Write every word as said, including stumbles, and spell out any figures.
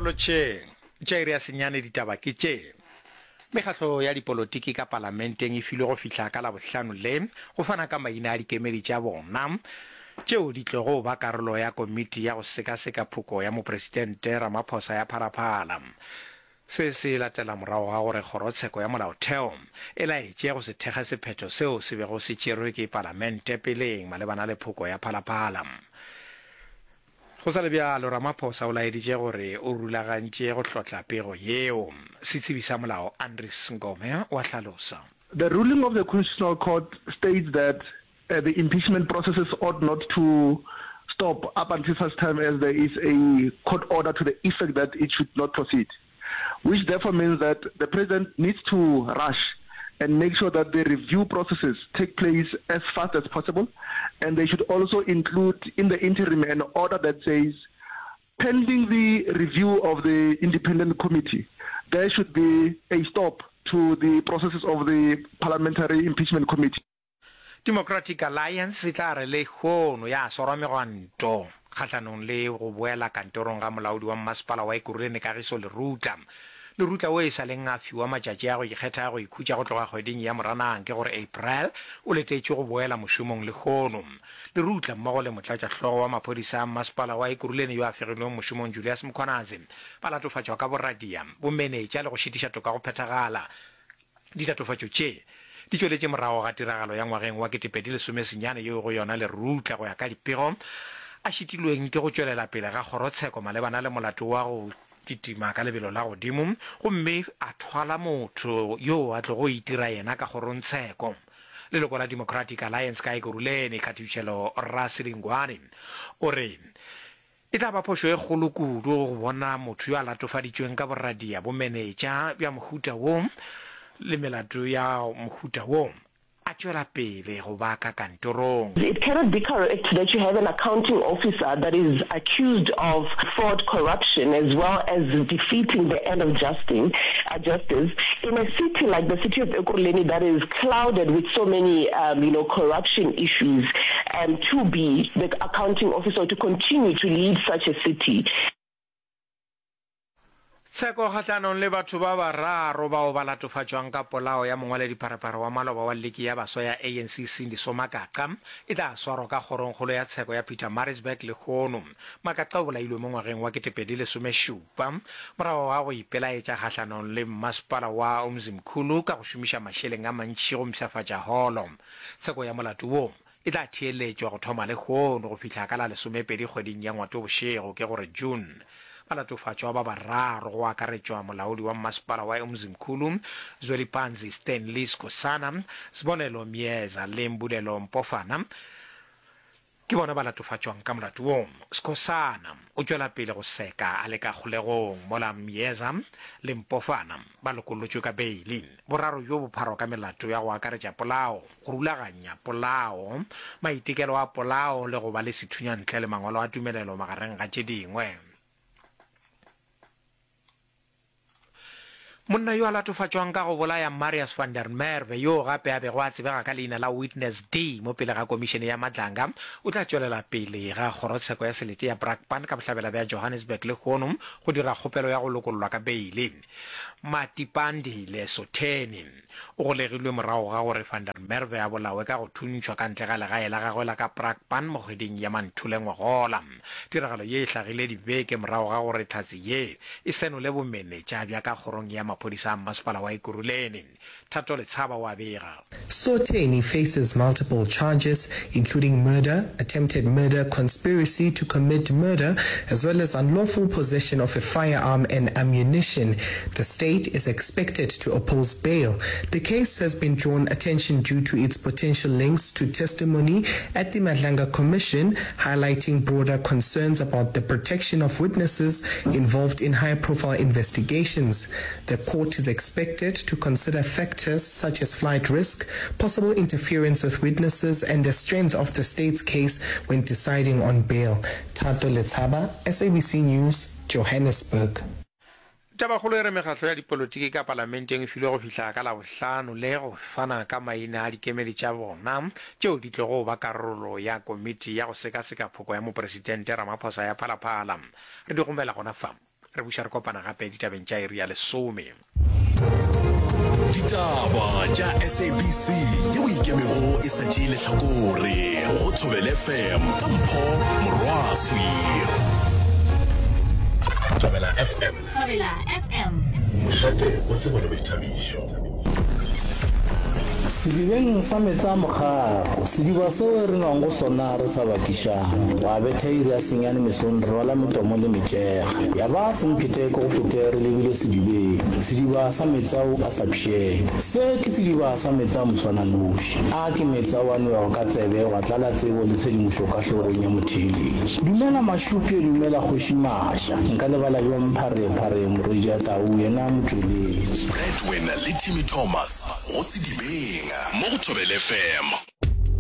Lotšheng. Tša iri ya senyane ditaba ke tše. Mekgatlo ya dipolotiki ka palamenteng e filwe go fihla ka Labohlano le go fana ka maina a dikemedi tša bona tšeo di tlogo ba karolo ya komiti ya go sekaseka phoko ya Mopresidente Ramaphosa ya Phalaphala. Se se latela morago ga gore Kgorotsheko ya Molaotheo e laetše go se thekge sephetho seo se bego se tšerwe ke Palamente peleng malebana le phoko ya Phalaphala. Go sa le bjalo, Ramaphosa o laeditše gore o rulagantše go hlotla pego yeo. Setsebi sa molao Andries Ngome o a hlalosa. The ruling of the Constitutional Court states that uh, the impeachment processes ought not to stop up until such time as there is a court order to the effect that it should not proceed, which therefore means that the president needs to rush and make sure that the review processes take place as fast as possible, and they should also include in the interim an order that says, pending the review of the independent committee, there should be a stop to the processes of the parliamentary impeachment committee. Democratic Alliance e tla re lehono ya swarwa megwanto kgahlanong le go boela kantorong ga molaodi wa mmasepala wa Ekurhuleni Kagiso Lerutla. Lerutla wo e sa leng a fiwa matšatši a go ikgetha a go ikhutša go tloga kgweding ya Moranang, ke gore April, o letetšwe go boela mošomong lehono. Lerutla mmogo le motlatšahlogo wa maphodisa a mmasepala wa Ekurhuleni yo a fegilweng mošomong Julius Mkhwanazi ba latofatšwa ka boradia, bomenetša le go šitiša toka go phethagala. Ditatofatšo tše di tšweletše morago ga tiragalo ya ngwageng wa ketepedi lesome senyane yeo go yona Lerutla go ya ka dipego a šitilweng ke go tšwelela pele ga kgorotsheko malebana le molato wa go kitima ka lebelo la godimo gomme a thwala motho yo a tlogo itira yena ka kgorongtsheko. Leloko la Democratic Alliance ka Ekurhuleni, Khathušelo Rasilingwane, o re e tla ba phošo e kgolo kudu go bona motho yo a latofaditšweng ka boradia, bomenetša bja mohuta wo le melato ya mohuta wo a tšwela pele go ba ka kantorong. It cannot be correct that you have an accounting officer that is accused of fraud, corruption, as well as defeating the end of justing, uh, justice in a city like the city of Ekurhuleni that is clouded with so many, um, you know, corruption issues, um, to be the accounting officer to continue to lead such a city. Tsheko kgahlanong le batho ba bararo bao ba latofatšwang ka polao ya mongwaledipharephare wa maloba wa liki ya baswa ya A N C Sindiso Magaqa e tla swarwa ka kgorongkgolo ya tsheko ya Pietermaritzburg lehono. Magaqa o bolailwe mo ngwageng wa ketepedi lesomešupa morago ga go ipelaetša kgahlanong le mmasepala wa Umzimkhulu ka go šomiša mašeleng a mantši go mpshafatša holo. Tsheko ya molato wo e tla theeletšwa go thoma lehono go fihla ka la lesomepedi kgweding ya Ngwatobošego, ke gore June. Balatofatšwa ba bararo go akaretšwa molaodi wa mmasepala wa Umzimkhulu Zwelipanzi Stanley Skhosana, Sibonelo Myeza le Mbulelo Mpofana ke bona ba latofatšwang ka molato wo. Skhosana o tšwela pele go seka a le ka kgolegong mola Myeza le Mpofana ba lokollotšwe ka beili. Boraro bjo bo pharwa ka melato ya go akaretša polao, go rulaganya polao, maitekelo a polao le go ba le sethunya ntle le mangwalo a tumelelo magareng ga tše dingwe. Monna yo a latofatšwang ka go bolaya Marius van der Merwe, yoo gape a bego a tsebega ka leina la Witness D mo pele ga Komišene ya Madlanga, o tla tšwelela pele ga kgorotsheko ya selete ya Brakpan ka bohlabela bja Johannesburg lehono go dira kgopelo ya go lokollwa ka beile. Matipandile Sotheni o golegilwe morago ga gore van der Merwe a bolawe ka go thuntšhwa ka ntle ga legae la gagwe la ka Brakpan mo kgweding ya Manthole ngwagola. Tiragalo ye e hlagile dibeke morago ga gore hlatse ye e senole bomenetša bja ka kgorong ya maphodisa a mmasepala wa Ekurhuleni. Thato Letshaba o a bega. Sotheni faces multiple charges, including murder, attempted murder, conspiracy to commit murder, as well as unlawful possession of a firearm and ammunition. The state is expected to oppose bail. The case has been drawn attention due to its potential links to testimony at the Madlanga Commission, highlighting broader concerns about the protection of witnesses involved in high-profile investigations. The court is expected to consider factors such as flight risk, possible interference with witnesses, and the strength of the state's case when deciding on bail. Thato Letshaba, S A B C News, Johannesburg. Tabakgolo e re mekgatlo ya dipolotiki ka palamenteng e filwe go fihla ka Labohlano le go fana ka maina a dikemedi tša bona tšeo di tlogo ba karolo ya komiti ya go sekaseka phoko ya Mopresidente Ramaphosa ya Phalaphala. Re di gomela gona fa. Re buša re kopana gape ditabeng tša iri ya lesome. Ditaba tša SABC yeo e ikemego e sa tšee lehlakore go Thobela FM ka Mpho Morwaswi. Thobela FM. Thobela FM. Mošate wa tsebo le boithabišo. Sedibeng sa meetse a mokgako, sediba seo re nwang go sona re sa bakišane. Gwa betha iri ya senyane mesong re rwala metomo le metšega. Ya ba semphete ke go fete re lebile sedibeng, sediba sa meetse ao a sa pšheng. Se ke sediba sa meetse a moswananoši. A ke meetse ao a nwewago ka tsebe gwa tlala tsebo le tshedimošo ka hlogong ya motheeletši. Dumela Mašupje, dumela Kgoši Maša. Nka lebala bjang Pharephare morwedi a tau yena motšweletši. Bradwin le Timmy Thomas go Sedibeng mo go Thobela FM.